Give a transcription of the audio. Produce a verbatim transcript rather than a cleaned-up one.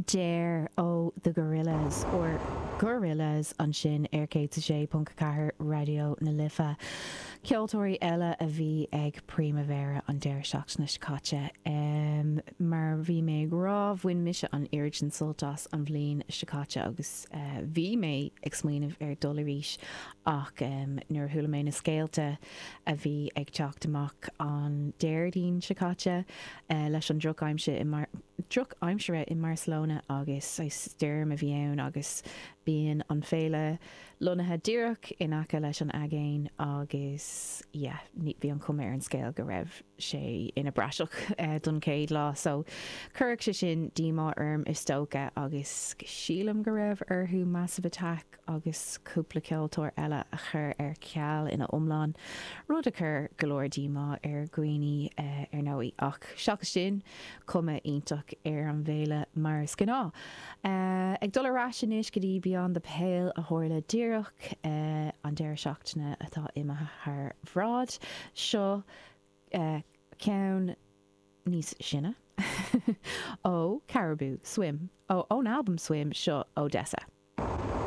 Dare ó The Gorillaz or Gorillaz ansin ar céad a sé ponc ceathair Raidió na Life. Ceoltóirí eile a bhí ag Primavera an deireadh seachtaine seo caite. Um, mar bhí mé ag rá bhain mise an oiread sin sult as an bhliain seo caite agus uh, bhí mé ag smaoineamh ar dul arís ach um, nuair a chuala mé na scéalta a bhí ag teacht amach an Déardaoin seo caite uh, leis an drochaimsir i mar drochaimsir i Barcelona agus stoirm a bhí ann agus bíonn an féile lonnaithe díreach in aice leis an aigéan agus yeah, ní bhí an chuma ar an scéal go raibh sé ina bpraiseach uh, don chéad lá, so chuir sé sin díomá orm is dócha agus sílim go raibh orthu Massive Attack agus cúpla ceoltóir eile a chur ar ceal ina iomlán, rud a chuir go leor díomá ar dhaoine uh, ar ndóigh ach seachas sin cuma iontach ar an bhféile mar is gnáth. Uh, ag dul ar ais anois go dtí Beyond the Pale a tharla díreach uh, an deireadh seachtaine atá imithe thar bhráid seo uh, ceann níos sine ó Caribou Swim ó ón album Swim seo Odessa.